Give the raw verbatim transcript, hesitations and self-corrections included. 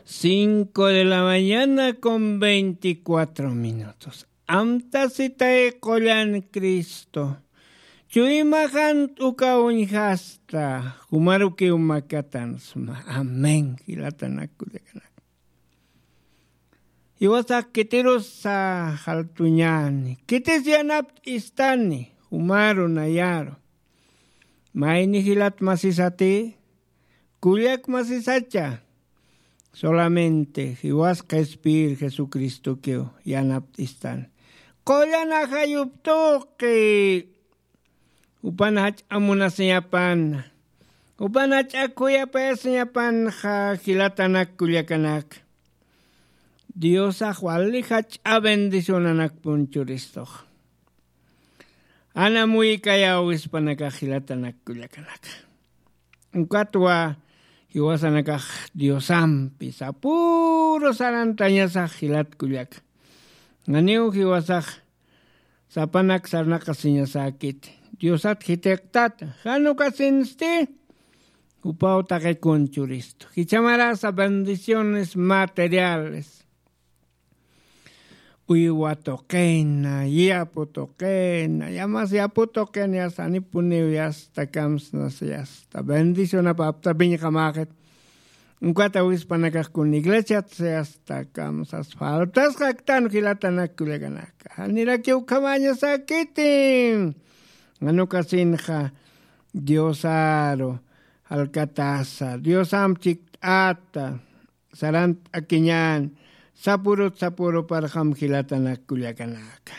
Cinco de la mañana con veinticuatro minutos. Amtasitay qullan Cristo. Chuymaxan t'uka uñjasta. Jumarukiw makatansma. Amén. Jilatanakullakanaka. Jiwasax kitirusa jaltuñani. Kitis yanapt'istani. Jumaru nayaru. Mayni jilat masisati. Kullak masisacha. Solamente jiwas qhispiyir Jesucristokiw yanapt'istan. Qullan ajayuptuqi. Jupan jach'amunasiñapan. Jupan jach'a khuyapayasiñapanxa jilatanak kullakanaka. Diosax wali jach'a bendicionanakpun churistux. Anamuykaya wispanakax jilatanak kullakanaka. Ukatwa jiwasanakax Diosampi sapüru sarantañasax jilat kullaka. Janiw jiwasax sapanak sarnaqasiñasäkiti. Diosat jitiqtata jan ukasinsti. Jupaw taqikun churistu jichhamarasa bendiciones materiales. Uywa tuqina, yapu tuqina, yamas yapu tuqina yasta janipuniw yasta kamsnas yasta bendicionapapta piñqamäxit. Ukata wispanakax kun iglesiat yasta kamsas faltasxaktan jilatanak kullakanaka janirakiw ukhamäñasäkiti. Janukasinxa diosaru jalkatasa diosamp chikt'ata sarant'akiñän sapurut sapuruparxam jilatanak kullakanaka.